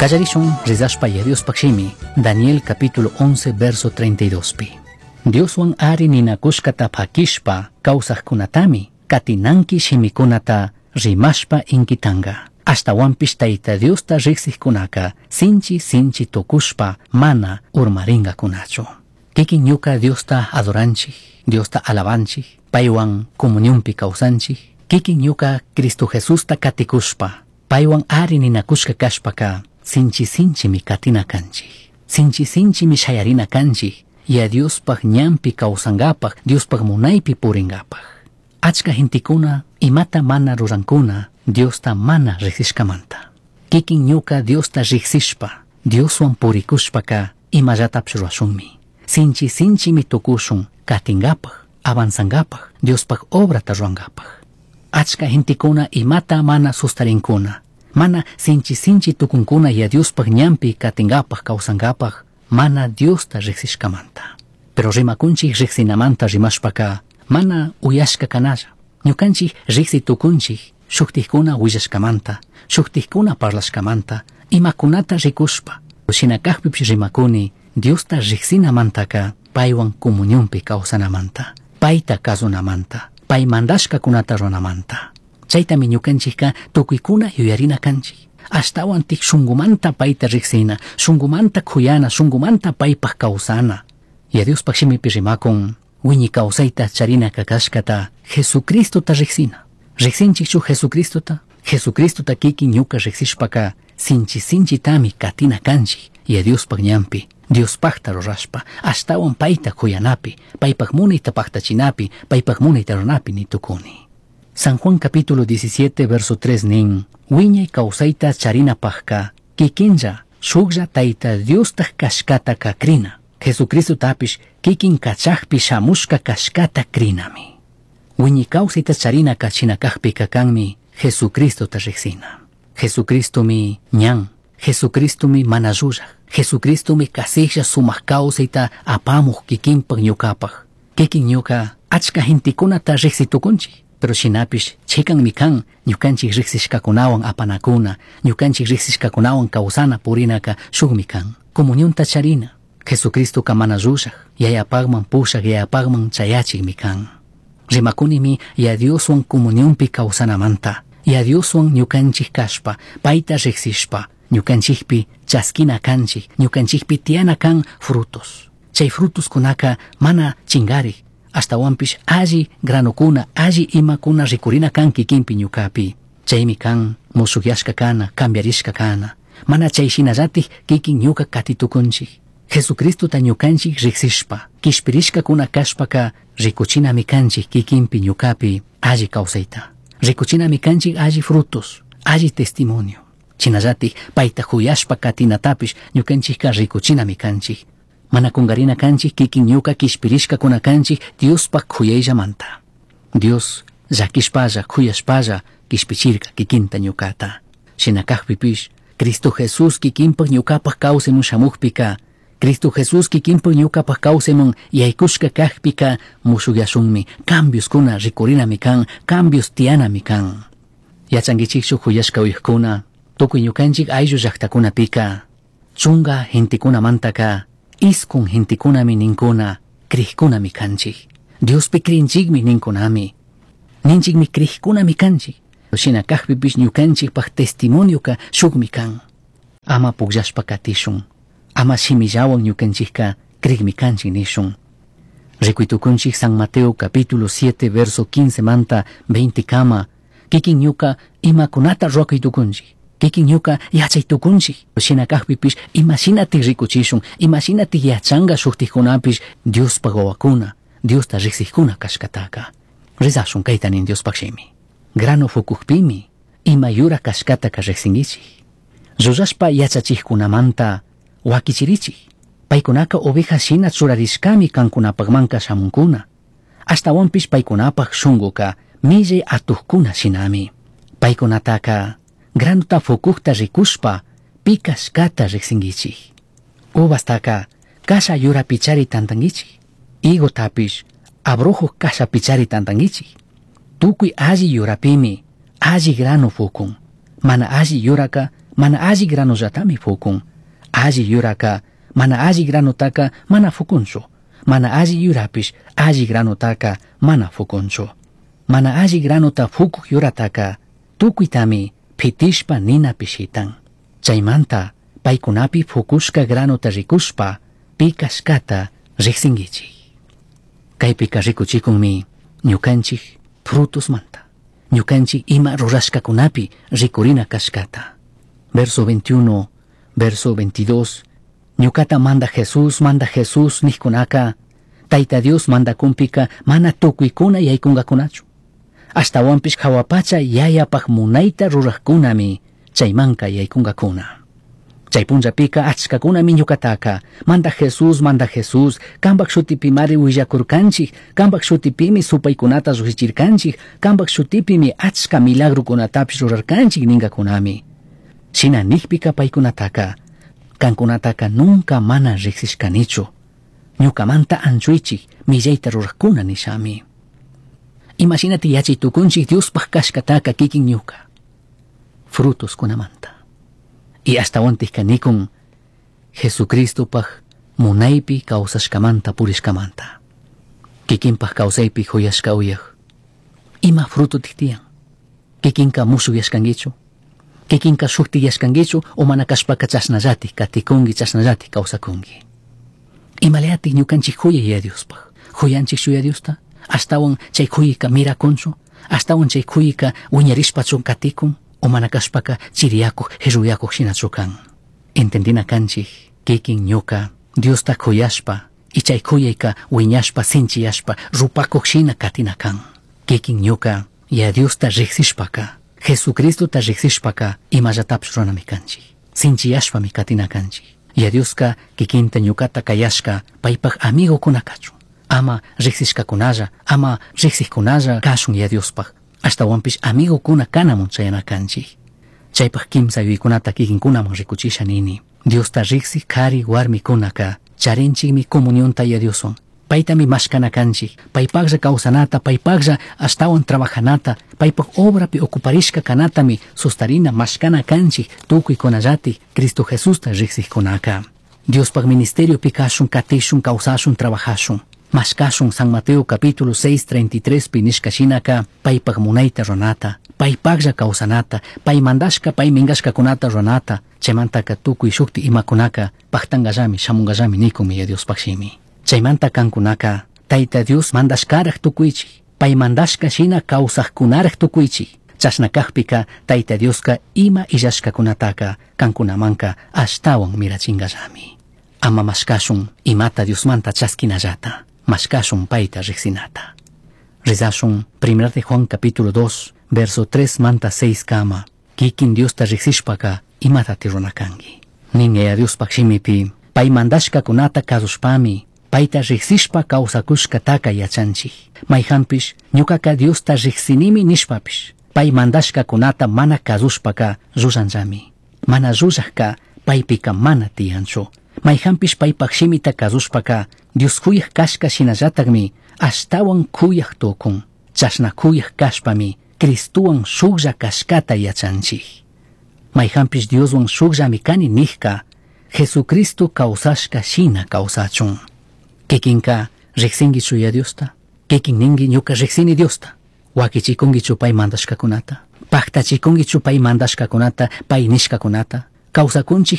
Kallarishun rezashpa ya Diospaj shimi, Daniel capítulo 11 verso 32 pi. Dioswan ari ninakushkata pakishpa kawsajkunatami katinanki shimikunata rimashpa inkitanga. Ashtawanpish Tayta Diosta riqsiqkunaka sinchi sinchi tukushpa mana urmaringakunachu. Kikin ñuka Diosta adoranchik, Diosta alabanchik, paywan comunionpi kawsanchik, kikin ñuka Cristo Jesusta katikushpa, paywan ari ninakushka kashpaka sinchi sinchimi katina kanchik. Sinchi sinchimi shayarina kanchik, ya Diospaj ñanpi kawsangapaj, Diospaj munaypi puringapaj. Achka gentekuna imata mana rurankuna Diosta mana riqsishkamanta. Kikin ñuka Diosta riqsishpa, Dioswan purikushpaka imallatapish rurashunmi. Sinchi sinchimi tukushun katingapaj, avanzangapaj, Diospaj obrata rurangapaj. Achka gentekuna imata mana sustarinkuna, mana sinchi sinchi tukunkuna ya Diospaj ñanpi katingapaj kawsangapaj, mana Diosta riqsishkamanta. Pero rimakunchik riqsinamanta rimashpaka mana uyashka kanalla. Ñukanchik riqsi tukunchik shuktikkuna willashkamanta, shuktikkuna parlashkamanta, imakunata rikushpa. Shina kajpipish rimakuni Diosta riqsinamantaka paywan comunionpi kawsanamanta, payta kasunamanta, pay mandashkakunata ruranamanta. Chaytami ñukanchikka tukuykuna yuyarina kanchik. Ashtawan tik shunkumanta payta riqsina, shunkumanta kuyana, shunkumanta paypaj kawsana. Ya Diospaj shimipi rimakun, wiñi kawsayta charina kakashkata Jesucristota riqsina. Riqsinchikchu Jesucristota? Jesucristota kikin ñuka riqsishpaka sinchi sinchitami katina kanchik ya Diospaj ñanpi, Diospajta rurashpa, ashtawan payta kuyanapi, paypaj munayta paqtachinapi, paypaj munayta ruranapi nitukuni. San Juan capítulo 17 verso 3 nin, wiñay kawsayta charinapajka, kikinlla, shuklla Tayta Diostaj kashkata krina. Jesucristotapish kikin kachajpi shamushka kashkata krinami. Wiñay kawsayta charina kachina kajpika kanmi Jesucristota riqsina. Jesucristomi ñan, Jesucristomi mana llullaj, Jesucristomi kasijlla sumaq kawsayta apamuj kikinpaj ñukapaj. Kikin ñuka achka gentekunata riqsitukunchik. Pero shinapish chikanmi kan ñukanchik riqsishkakunawan apanakuna, ñukanchik riqsishkakunawan kawsana purinaka shukmi kan. Comunionta charina, Jesucristoka mana llullaj, yayapajman pushaj, yayapajman chayachikmi kan. Rimakunimi ya Dioswan comunionpi kawsanamanta, ya Dioswan ñukanchik kashpa, payta riqsishpa, ñukanchikpi chaskina kanchik, ñukanchikpi tiyana kan frutos. Chay frutoskunaka mana chingarik, ashtawanpish alli granokuna, alli imakuna rikurina kan kikinpi ñukapi. Chaymi kan mushukyashka kana, cambiarishka kana. Mana chay shinallatik kikin ñuka katitukunchik. Jesucristota ñukanchik riqsishpa, kishpirishkakuna kashpaka rikuchinami kanchik kikinpi ñukapi alli kawsayta. Rikuchinami kanchik alli frutos, alli testimonio. Shinallatik payta kuyashpa katinatapish ñukanchikka rikuchinami kanchik. Mana kungarina kanchik kikin ñuka kishpirishkakuna kanchik Diospaj kuyayllamanta. Dios llakishpalla kuyashpalla kishpichirka kikinta ñukata. Shina kajpipish Cristo Jesús kikinpaj ñukapaj kawsaymun shamukpika, Cristo Jesús kikinpaj ñukapaj kawsaymun yaykushka kajpika mushukyashunmi, cambioskuna rikurinami kan, cambios tiyanami kan. Yachankichikchu kuyashka uyajkuna, tukuy ñukanchik ayllu llaktakunapika, chunga gentekunamantaka, iskun gentekunami ninkuna, crijkunami kanchik. Diospi crinchikmi ninkunami. Ninchikmi crijkunami kanchik. Shina kajpipish ñukanchikpaj testimonioka shukmi kan. Ama pukllashpa katishun. Ama shimillawan ñukanchikka crikmi kanchik nishun. Rikuytukunchik San Mateo capítulo 7 verso 15 manta 20 kama, kikin ñuka imakunata ruwakuytukunchik. Kikin ñuka yachaytukunchik. Shina kajpipish imashinatik rikuchishun, imashinatik yachanka shuktikkunapish Diospaj wawakuna, Diosta riqsikkuna kashkataka. Rezashun kayta nin Diospaj shimi. Grano fukukpimi ima yura kashkataka riqsinkichik. Llullashpa yachachikkunamanta wakichirichik. Paykunaka oveja shina churarishkami kankunapajmanka shamunkuna. Ashtawanpish paykunapaj shunkuka millay atukkuna shinami. Paykunataka granota fukukta rikushpa pi kashkata riqsinkichik. Uvastaka kasha yurapichari tantankichik. Higotapish abrojo kashapichari tantankichik. Tukuy alli yurapimi alli grano fukun. Mana alli yuraka mana alli granollatami fukun. Alli yuraka mana alli granotaka mana fukunchu. Mana alli yurapish alli granotaka mana fukunchu. Mana alli granota fukuq yurataka tukuytami pitishpa ninapi shitan. Chaymanta paykunapi fukushka granota rikushpa pi kashkata riqsinkichik. Kaypika rikuchikunmi ñukanchik frutosmanta. Ñukanchik ima rurashkakunapi rikurina kashkata. Verso 21, verso 22, ñukata manda Jesús nijkunaka, Tayta Dios mandakunpika mana tukuykuna yaykungakunachu. Ashtawanpish hawapacha yayapaj munayta rurajkunami chaymanka yaykungakuna. Chay punllapika achkakunami ñukataka, manda Jesús, kambak shutipimari willakurkanchik, kambak shutipimi supaykunata lluqshichirkanchik, kambak shutipimi achka milagrukunatapish rurarkanchik ningakunami. Shina nijpika paykunataka, kankunataka nunca mana riqsishkanichu. Ñukamanta anchuychik millayta rurajkuna nishami. Imashinati yachay tukunchik Diospaj kashkataka kikin ñuka. Frutos kunamanta. Y ashtawantik nikun Jesucristopaj munaypi kawsashkamanta purishkamanta. Kikinpaj kawsaypi huyashka uyaj. Ima fruto tiyan. Kikinka mushuyashkankichu. Kikinka shuktiyashkankichu o mana kashpaka chashnallatik katikunki chashnallatik kawsakunki. Imalayatik ñukanchik huyay ya Diospaj. Huyanchik shuya Diosta. Ashtawan chay huyka mirakunchu. Ashtawan chay huyka wiñarishpachu katikun. O mana kashpaka chiriyakuq hirruyakuq shinachu kan. Entendina kanchik kikin ñuka Diosta kuyashpa y chay kuyayka wiñashpa sinchiyashpa rupakuq shina katina kan. Kikin ñuka ya Diosta riqsishpaka Jesucristota riqsishpaka imallatapish ruranami kanchik. Sinchiyashpami katina kanchik. Ya Dioska kikinta ñukata kayashka paypaj amigokuna kachun. Ama riqsishkakunalla, ama riqsijkunalla kashun ya Diospaj. Ashtawanpish amigokuna kanamun chayana kanchik. Chaypaj kimsa yuyaykunata kikinkunaman rikuchisha nini. Diosta riqsik kari warmikunaka charinchikmi comunionta ya Dioswan. Paytami mashkana kanchik, paypaqlla kawsanata, paypaqlla ashtawan trabajanata, paypaq obrapi ocuparishka kanatami sustarina mashkana kanchik tukuykunallatik Cristo Jesusta riqsikkunaka. Diospaq ministeriopi kashun, katishun, kawsashun, trabajashun. Mashkashun San Mateo capítulo 6, 33 pi nishka shinaka paypaq munayta ruranata, paypaqlla kawsanata, pay mandashka, pay minkashkakunata ruranata, chaymantaka tukuy shukti imakunaka paqtankallami, shamunkallami nikunmi ya Diospaq shimi. Chaymanta kankunaka Tayta Dios mandashkaraq tukuychik, pay mandashka shina kawsaqkunaraq tukuychik. Chashna kaqpika Tayta Dioska ima illashkakunataka kankunamanka ashtawan mirachinkallami. Ama mashkashun imata Diosmanta chaskinallata, mashkashun payta riqsinata. Rezashun 1 de Juan capítulo 2, verso 3 manta 6 kama, kikin Diosta riqsishpaka imatati runakanki. Nin yaya Diospaq shimipi, pay mandashkakunata kasushpami, payta riqsishpa kawsakushkataka yachanchik. Mayhanpish ñukaka Diosta riqsinimi nishpapish, pay mandashkakunata mana kasushpaka llullantami. Mana llullajka paypika mana tiyanchu. Mayhanpish paypaq shimita kasushpaka Dios kuyaq kashka shinallatakmi ashtawan kuyaq tukun. Chashna kuyaq kashpami Cristuwan shuklla kashkata yachanchik. Mayhanpish Dioswan shukllami kani nijka Jesucristo kawsashka shina kawsachun. Kikinka riqsinkichu ya Diosta, kikin ninki ñuka riqsini Diosta. Wakichikunkichu pay mandashkakunata, paqtachikunkichu pay mandashkakunata, pay nishkakunata. Kawsakunchik